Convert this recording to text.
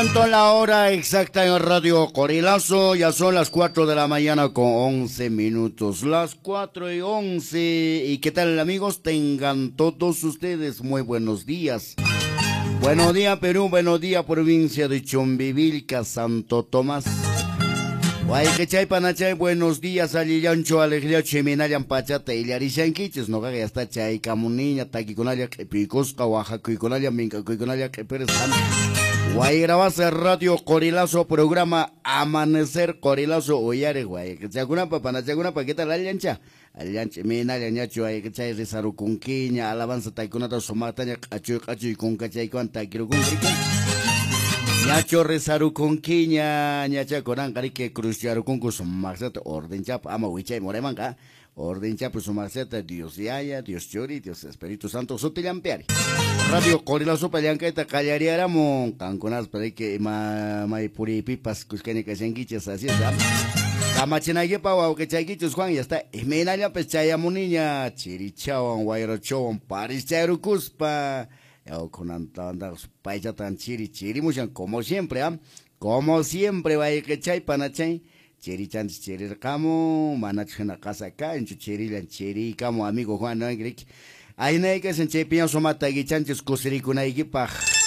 Presento la hora exacta en Radio Qorilazo. Ya son las 4 de la mañana con 11 minutos. Las 4:11. ¿Y qué tal, amigos? Tengan todos ustedes muy buenos días. Buenos días, Perú. Buenos días, provincia de Chumbivilca, Santo Tomás. Wayqichay, panachay, buenos días, allillanchu, alegriachu, imaynallan pachata illarishankichis, noqaqa ya está chaykamuniña, takikunalla q'ipiykusqa, waqakuykunalla, mink'akuykunalla q'ipirisqa. Wayrawasa Radio Qorilazo, programa Amanecer Qorilazo, uyariq wayqichakunapa, panachakunapa, ¿qué tal allancha? Allancha, imaynallan ñachu wayqichay rizarukunkiña, alabanza takikunata sumaqtaña q'achuy q'achuy kunkachaykuwan takirukunki. Ñachu rizarukunkiña, ñacha kunanqa riki cruzcharukunku sumaqsata ordenchapa, ama wichay muraymanqa, ordenchapa sumaqsata Dios Yaya, Dios Churi, Dios Espíritu Santo sutillampiari. Radio Qorilazopa llank'ayta qallariaramun, qankunaspa riki ima may puriypipas kuskaña kashankichis, así es, ¿ah? Kamachinaykipa wawqichaykichis Juan, ya está, imaynallapas chayamuniña, chirichawan, wayrachawan, parischayrukuspa. Paychatan chiri chirimushan, como siempre, ¿ah? Como siempre, wayqichay, panachay, chirichanchis chirirqamun, manachu hina qasa kanchu, chirillan chiriykamun, amigo Juan, ¿no? Aynaykasan chaypiña sumata taquichanchis kusirikunaykipaq.